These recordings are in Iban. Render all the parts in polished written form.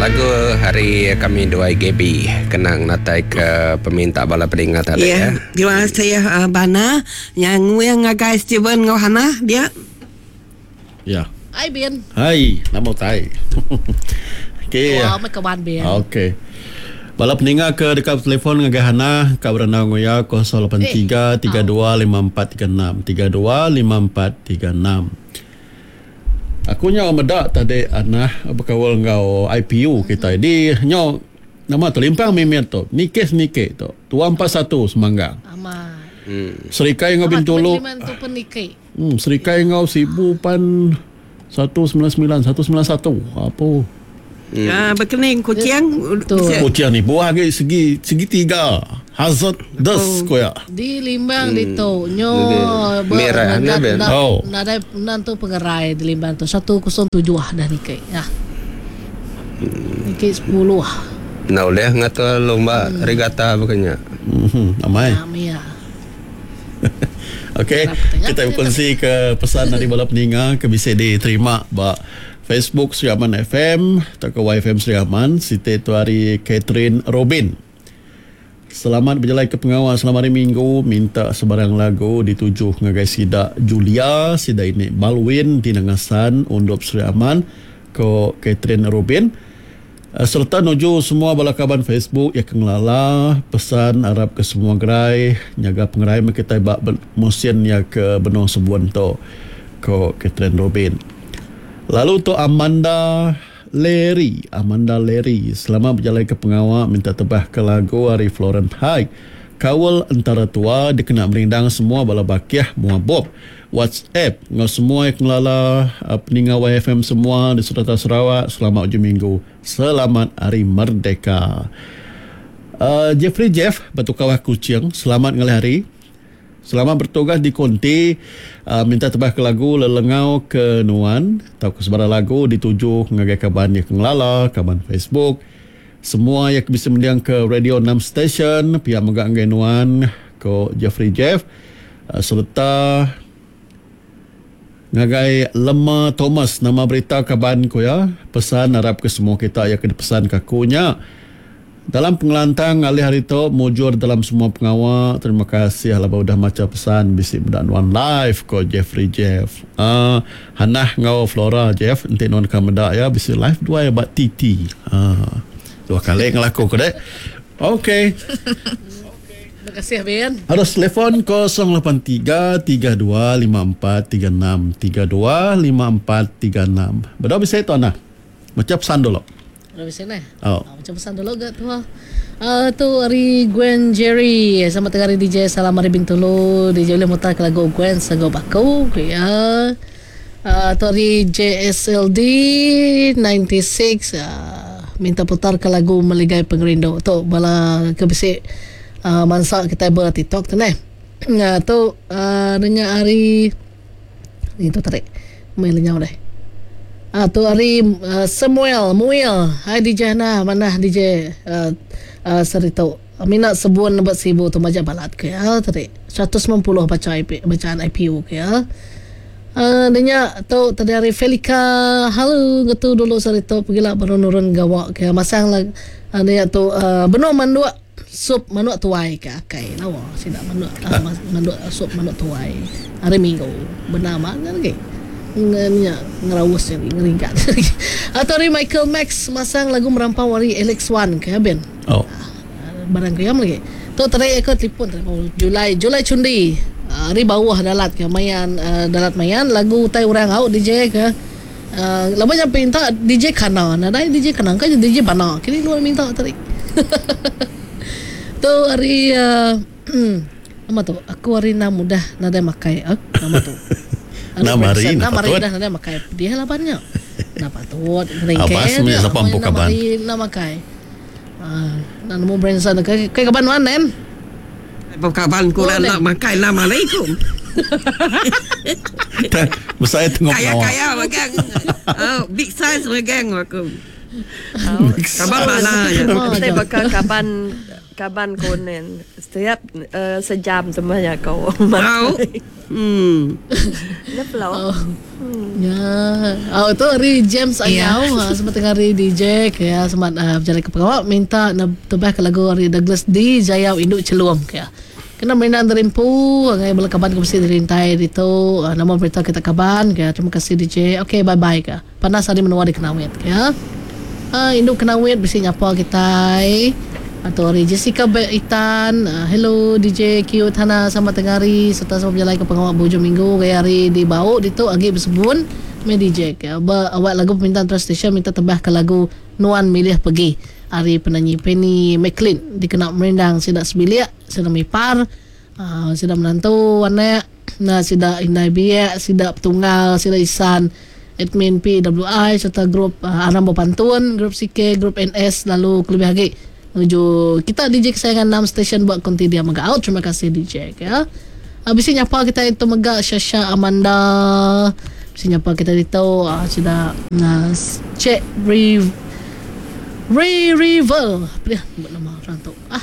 Lagu hari kami duai Gaby kena ngenatai ke peminta bala peninga tadi ya. Terima kasih Bana nya nguing ngagai Steven enggau Hannah dia. Ya. Hai Bin. Hai, nama utai. Okey. Tua meh kaban Bin. Okey. Bala peninga ke deka betelefon ngagai Hannah ka berandau enggau iya 083 32 54 36 32 54 36. Aku nyau meda tadi Hannah bekaul enggau IPU kitai di nyau nama tu limpang mimit tu niki seniki tu 241 Semanggang. Amat. Serikai enggau Bintulu. Amat tu pen niki. Hmm, Serikai enggau Sibu pan 199, 191. Apu. Hmm. Ah, bekening kucing. Kucing ni buah agi segi segitiga. Hazard des ko ya. Di Limbang ditu nyo Merah ne ben. Oh. Nadai nentu pengerai di Limbang tu 107 dah niki. Ya. Niki 10. Enda ulih ngatur lumba regata baka nya. Mhm, amai. Amai ya. Okey, kita bekunsi ke pesan ari bala peninga ke bisi diterima ba Facebook Sri Aman FM tauka YFM Sri Aman siti tu ari Catherine Robin. Selamat bejalai ke pengawa selamat hari minggu minta sebarang lagu dituju ngagai sida Julia, sida ini Balwin ti Nangasan Undup Sri Aman ko Catherine Robin. Sereta nuju semua bala kaban Facebook iya ke ngelala pesan arap ke semua gerai nyaga pengerai meh kitai ba musin iya ke benung sebun tu, ko Catherine Robin. Lalu tu Amanda Larry, Amanda Larry selama bejalai ke pengawa minta tebah ke lagu ari Florence Haig Kaul Entara Tua dikena merindang semua bala bakih mua Bob. WhatsApp enggau semua iya ke ngelala peninga YFM semua di serata Sarawak selamat ujung minggu selamat hari merdeka. Uh, Jeffrey Jeff Batu Kawah Kuching selamat ngalih hari. Selamat bertugas di konti uh, minta tebah ke lagu lelengau ke nuan tauka sebarang lagu dituju ngagai kaban iya ke ngelala kaban Facebook semua iya ke bisi mending ke radio 6 station pia mega ngagai nuan ko Jeffrey Jeff. Sereta ngagai Lema Thomas nama berita kaban ku iya pesan arap ke semua kita iya ke dipesan ke aku nya dalam pengelantang alih hari tu mujur dalam semua pengawa terima kasih laban udah macha pesan bisi meda nuan live ko Jeffrey Jeff uhh Hanah enggau Flora Jeff enti nuan ka meda iya bisi live duai ba TT uhh dua kali ngelaku ku dek ok. Terima kasih Bin. Arus telefon 083 32 54 36 32 54 36. Bedau bisi tu anah. Baca pesan dulu. Bedau bisi neh. Oh. Baca pesan dulu ga tu. Uh, tu ari Gwen Jerry. Selamat tengah hari DJ. Salam ari Bintulu. DJ ulih mutar ke lagu Gwen Sanggup Aku. Ya. Uh, tu ari JSLD 96 uh, minta putar ke lagu Meligai Pengerindu. Tu bala ke bisi uh, mansa kitai ber TikTok tu neh. Uh, tu uh, dengar ari ni tu tadi. Mei lenyau deh. Uh, tu ari uh, Samuel Muil. Hai DJ Hana, manah DJ uh, uh, seritu. Mina sebun ba Sibu tu majak balat ke ya tadi. 190 baca IP, bacaan IPU ke ya. Uh, nya tu tadi hari Felika halo ngetu dulu sehari tu pegila baru nurun gawa ke masang lah uh, nya tu uh, benung manduk sup manuk tuai ke akai lawa sida manduk uh, manduk sup manuk tuai hari minggu benar amat lagi nya ngeraus jadi ngeringkat atau hari Michael Max masang lagu merampau hari Alex Wan ke ben. Oh. Barang ke lagi. Tu tadi aku telefon tadi Julai Julai Chundi ari bawah dalat ke mayan dalat mayan lagu utai orang au DJ ke uh, lama nya minta DJ kana nadai DJ kana ke DJ bana kini luar minta tadi. tu hari uh, nama tu aku hari enam udah nadai makai eh nama tu. Enam hari enam hari dah nadai makai pedih laban nya. Nah patut Abas meh sapa empu kaban. Enam makai. Ah, enda nemu Branson ke ke kaban nuan nen. Ba kaban ku enda enda makai enam hari ku. Besai tengok Kaya kaya magang. Oh, big size magang aku. Kaban bala ya. Enti baka kaban kaban ku nin setiap sejam semua nya ko. Au. Hmm. Nya pelo. Nya. Au tu ari James Anyau yeah. Selamat tengah hari DJ ke ya selamat uh, berjalai ke pengawa minta tebah ke lagu ari Douglas D Jayau Indu Celum ke ya. Kena merindang terimpu ngai bala kaban ke bisi dirintai ditu uh, nama berita kita kaban ke ya. Terima kasih DJ. Okay bye bye ke. Panas hari menua di Kenawit ke ya. Uh, indu Kenawit bisi nyapa kitai. Atau ari Jessica Be Itan, uh, hello DJ Q Thana selamat tengah hari serta selamat berjalai ke pengawa berhujung minggu gaya hari di Bau ditu agi besebun meh DJ ke. Ba awak lagu permintaan terus station minta tebah ke lagu Nuan Milih Pergi ari penanyi Penny McLean dikena merindang sida sebilik, sida mipar, uh, sida menantu anak Enda sida indai biak, sida petunggal, sida isan, admin PWI sereta grup Aram Bepantun, grup CK, grup NS lalu kelebih agi nuju kita DJ kesayangan enam stesen ba konti dia mega out. Terima kasih DJ ya. Bisi nyapa kita itu mega Shasha Amanda. Bisi nyapa kita ditu sida Cik Re Re Rival. Apa dia nama orang tu? Ah.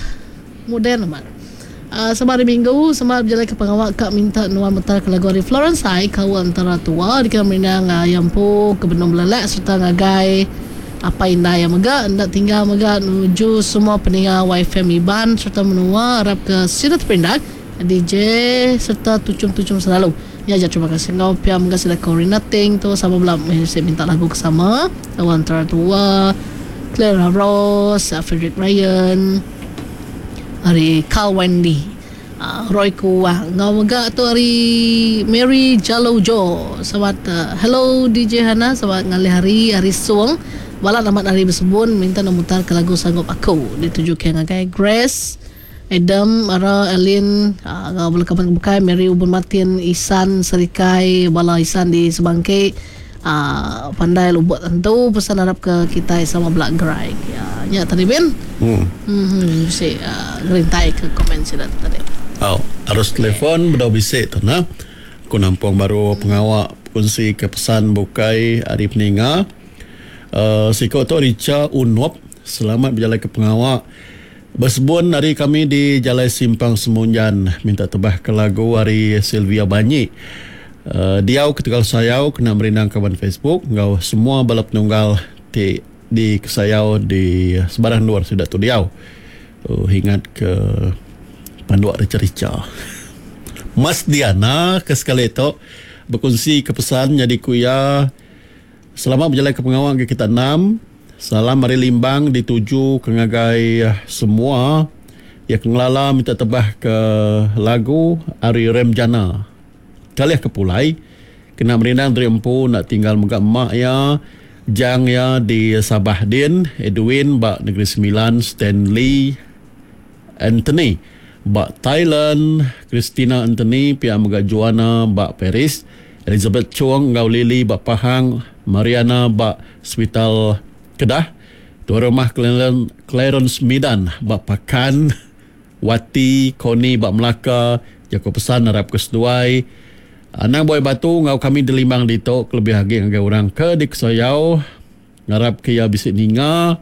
Moden amat. Sama hari minggu, sama bejalai ke pengawa ka minta nuan mutar ke lagu ari Florence Ai kaul antara tua dikena merindang iya empu ke benung belelak sereta ngagai apai indai iya mega enda tinggal mega nuju semua peninga YFM Iban sereta menua arap ke sida teperindang DJ sereta tuchum-tuchum selalu. Nya aja terima kasih enggau pia mega sida Corina Ting tu sama bela meh bisi minta lagu ke sama kaul antara tua Clara Rose, Frederick Ryan. Ari Carl Wendy, Roy Kuang enggau mega tu ari Mary Jalo Jo. Selamat hello DJ Hana selamat ngalih hari ari Song. Balat amat ari besebun minta ne mutar ke lagu Sanggup Aku dituju ke ngagai Grace, Adam, Ara, Alin enggau bala kaban ke bukai Mary Ubun Martin, Isan Serikai bala Isan di Sebangki. Aaa pandai lubok tentu pesan arap ke kitai sama bela gerai. Ya nya tadi bin. Hmm. Hmm bisi ngerintai ke komen sida tu tadi. Au arus telefon bedau bisi tu nah. Aku nampung baru pengawa bekunsi ke pesan bukai ari peninga. Uhh siko tu Richa Unop selamat bejalai ke pengawa besebun ari kami di Jalai Simpang Semunjan minta tebah ke lagu ari Sylvia Banyi. Diau ketegal sayau kena merindang kaban Facebook enggau semua bala penunggal ti dikesayau di sebarang endur sida tu diau. Uhh ingat ke panduk richa-richa. Mas Diana ke sekali tu bekunsi ke pesan nyadi ku iya selamat bejalai ke pengawa ngagai kita enam. Salam ari Limbang dituju ke ngagai semua iya ke ngelala minta tebah ke lagu ari Rem Jana. Kalih ke pulai, kena merindang diri empu enda tinggal mega emak iya, Jang iya di Sabah din, Edwin ba Negeri Sembilan, Stanley Anthony ba Thailand, Christina Anthony pia mega Joanna ba Paris, Elizabeth Chong enggau Lily ba Pahang, Mariana ba Sepital Kedah, Tuai Rumah Clarence Midan ba Pakan. Wati, Connie ba Melaka, jaku pesan arap ke seduai. Anang buai batu enggau kami di Limbang ditu kelebih agi ngagai orang ke dikesayau. Ngarap ke iya bisi ninga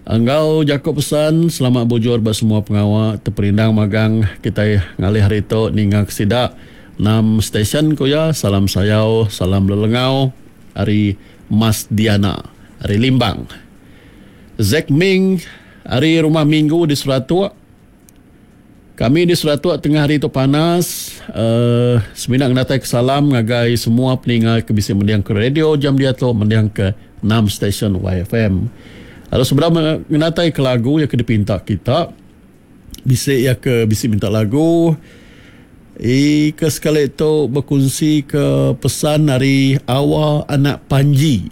enggau jaku pesan selamat bujur ba semua pengawa teperindang magang kitai ngalih hari tu ninga ke sida enam stesen ku iya. Salam sayau, salam lelengau ari Mas Diana ari Limbang. Zack Ming ari Rumah Minggu di Seratuk. Kami di Seratuk tengah hari tu panas. Uh, semina ngenatai ke salam ngagai semua peninga ke bisi mending ke radio jam diatu mending ke 6 stesen YFM. Lalu sebedau ngenatai ke lagu yang ke dipinta kita, bisi ya ke bisi minta lagu i ke sekali tu bekunsi ke pesan ari Awa Anak Panji.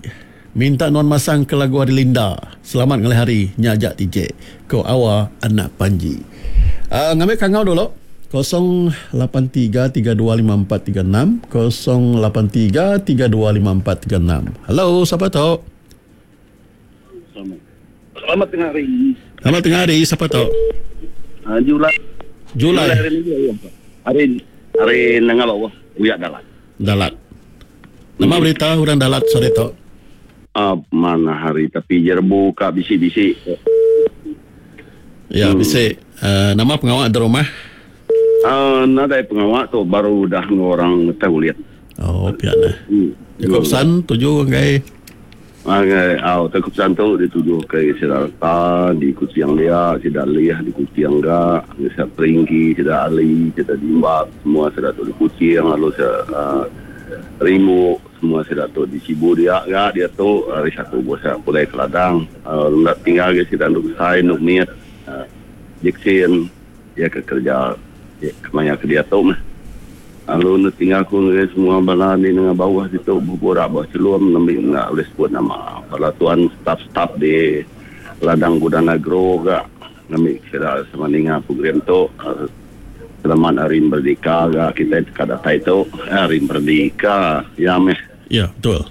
Minta nuan masang ke lagu ari Linda. Selamat ngalih hari nya aja TJ. Ko Awa Anak Panji. Uh, ngambil kangau dulu. 083325436 083325436. Hello, siapa tu? Selamat tengah hari. Selamat tengah hari, siapa tu? Julai. Julai. Hari hari hari nengah bawah, uyak dalat. Dalat. Nama berita orang dalat sore tu? Ah, manah hari tapi jerebu ka bisi-bisi. Ya, bisi. Uh, nama pengawa di rumah? Uh, nadai pengawa tu baru udah enggau orang ngetah ulit. Oh, pia neh. Jaku pesan tuju ngagai Ngagai au jaku pesan tu dituju ke sida reta di Kuching dia, sida Lih di Kuching ga, sida Peringgi, sida Ali, sida Dimbak semua sida tu di Kuching lalu sida uh, Rimbu Semua sida tu di Sibu dia ga diatu hari satu buah sida pulai ke ladang enda tinggal agi sida endu besai endu mit Jackson iya ke kereja kemaya ke diatu meh lalu enda tinggal ku ngagai semua bala di nengah bauh ditu beburak ba chelum nembi enda ulih sebut nama bala tuan staff staff di ladang Gudang Agro ga. Ngambi sida sama ninga program tu selamat hari merdeka ga kitai deka datai tu hari merdeka ya meh. Ya betul.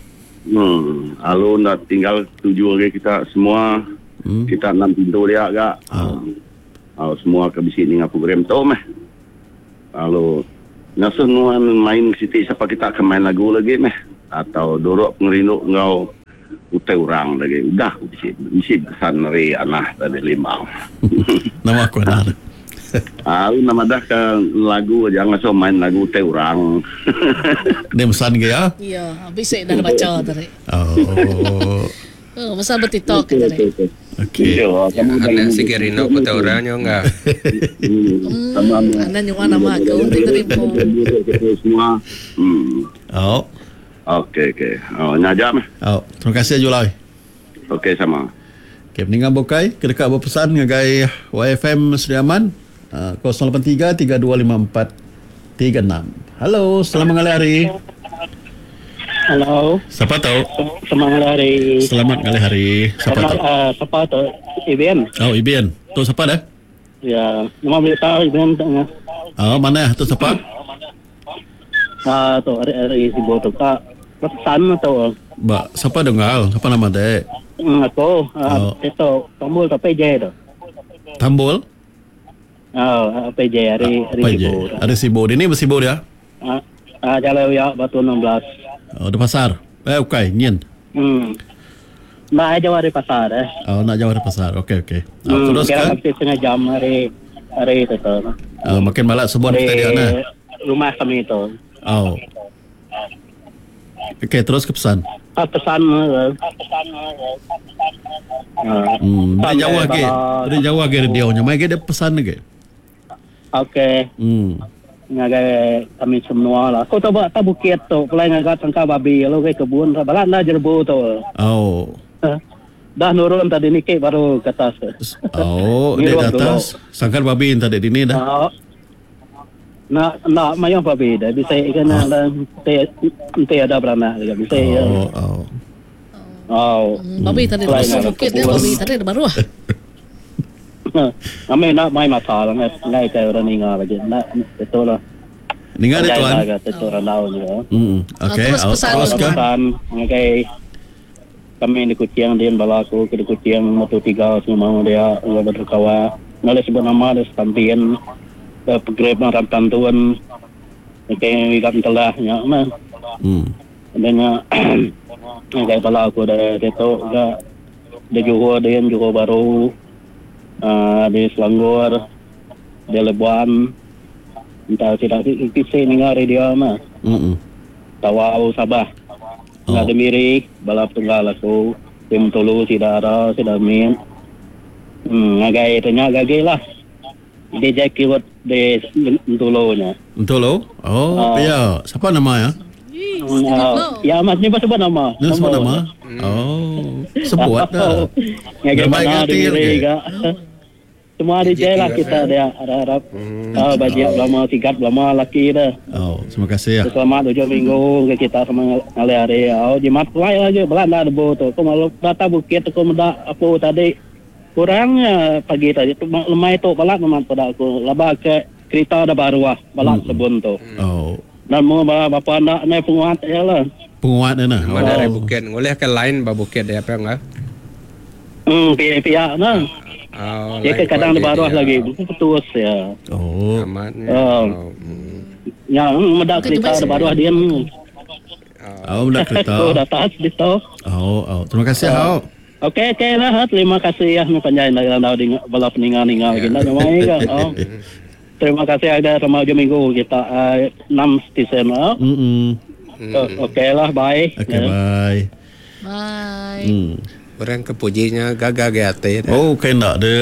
Hmm alu enda tinggal tuju agi kita semua hmm. kita enam pintu dia ga. Oh. Uh, semua ke bisi ninga program tu meh. Lalu ngasuh nuan main siti sapa kita ke main lagu lagi meh atau duruk pengerindu enggau Utai orang lagi udah ku bisi bisi pesan ari anah tadi limau. Nama aku anah tu. Ah nama madah ke lagu aja ngasuh main lagu utai orang. Dia pesan ke ya? Ya, bisi dah baca tadi. Oh. Oh, pesan ba TikTok tadi. Okey. Anak sigi rindu ku utai orang nyo enggak. Hmm, anak nyuan nama aku ti terima. Semua. Hmm. Oh. Okey okey. Oh nya aja meh. Au, terima kasih Julai. Okey sama. Okey peninga bukai ke deka bepesan ngagai YFM Sri Aman 083 3254 36. Hello, selamat ngalih hari. Hello. Siapa tu? Selamat ngalih hari. Selamat ngalih hari. Siapa tu? Uh, siapa tu? Ibn. Oh, Ibn. Tu siapa dah? Ya, nama berita Ibn. Oh, mana tu siapa? Ah tu ari ari sibu tu ka pesan tu. Ba sapa dunggal? Sapa nama dek? Hmm, aku ah, Oh. itu Tambul tu PJ tu. Tambul? Oh, PJ ari ari PJ. sibu. Ari sibu. Dini bersibu dia? Ah, ah jalan ya Batu 16. Oh, di pasar. Eh, ukai, nyin. Hmm. Nak jauh ari pasar eh. Oh, nak jauh dari pasar. Okey, okey. Oh, Hmm, terus kira kan? hampir setengah jam hari hari itu tu. Oh, makin malak sebut Hari kita dia nah. rumah kami itu. Oh. Okey, terus ke pesan. Ah, pesan eh. Ah, Hmm, pesan dari jauh eh, lagi. bala- Dari jauh lagi radio nya. Mai dia pesan lagi. Okey. Hmm. Ngagai kami semua lah. Aku tu buat tak bukit tu, pelai ngagai tangkap babi, lalu ke kebun, balak dah jerbu tu. Oh. Dah nurun tadi ni ke baru ke atas. Oh, di Ngirup atas sangkar babi tadi dini dah. Ah. Nak nak mayang babi dah bisa kena dah ente ente ada beranak juga bisa. Ah. Oh, oh. Oh. Babi tadi Pelai masuk ngagai bukit dia kebun. babi tadi dah baru. Kami nak main mata lah, ngai ngai ke orang ninga lagi. Nak itu lah. Ninga dia tuan. Itu orang tahu juga. Hmm. Okey, terus oh, pesan. terus ke? Pesan ngagai kami di Kuching dia bala aku ke di Kuching motor tiga semua dia enggak berkawa. Ngalih sebut nama dia stampian program orang tantuan. Okey, ikat telah nya mah. Hmm. Dan ngagai bala aku dah itu ga di Johor dia Johor Baru ah, di Selangor di Labuan entah tidak kisi ninga radio mah Hmm. Tawau Sabah Oh. oh. Ada Miri bala tunggal aku tim tulu sida ada sida min hmm ngagai tanya gagi lah DJ keyword di Tulu nya Betul lo? Oh, Ah. ya. Siapa nama ya? Hmm, ya mas ni sebut nama Ni sebut nama? Oh, sebut dah. Ngagai Ramai mana ganti di Miri lagi. ga. Semua DJ lah kita dia harap-harap ah bajik lama sigat lama laki dah. Oh, terima kasih ya. Selamat hujung minggu ke kita sama ngalih hari. Oh, jimat pelai aja belanda debu tu. Aku malu data bukit aku meda apa tadi kurangnya pagi tadi tu lemai tu balak memang pada aku. Laba ke kereta dah baru ah balak sebun tu. Oh, Dan mu bapa anak ni penguat ya lah. penguat dia nah. Nama dari bukit. Ngoleh ke lain ba bukit dia apa enggak? Hmm, pihak-pihak nah. Oh, Dia lain kadang kuat di bawah dia. lagi. Putus ya. Oh. Amatnya. Oh. Oh, hmm. Ya, meda Bukan kereta tu di bawah dia. Au meda kereta. Aku datas ditu. Au, au. Terima kasih au. Okey okey lah ha. Terima kasih ya panjai enda randau dinga bala peninga ninga lagi enda nyamai ga. Oh. Terima kasih ada sama hujung minggu kita uh, 6 stesen lah. Mm. Okey lah bye. Okey bye. Bye. Orang ke pujinya gaga ge ati dah. Oh, kai enda de.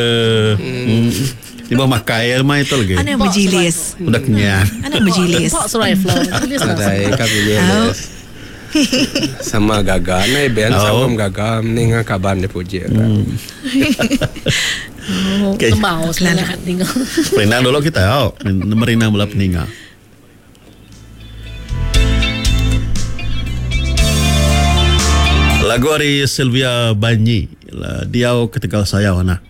Hmm. Tiba makai mai tu lagi. Ana berjilis. Udah kenyang. Ana berjilis. Pak serai flow. Jilis lah. Nadai ka puji Les. Sama gaga nai ben Oh. sama gaga ninga kaban dia puji. Okey. Sembau sebenarnya tinggal. Perindang dulu kita au. Merindang bala peninga. Lagu ari Sylvia Banyi. Diau ketegal sayau ana.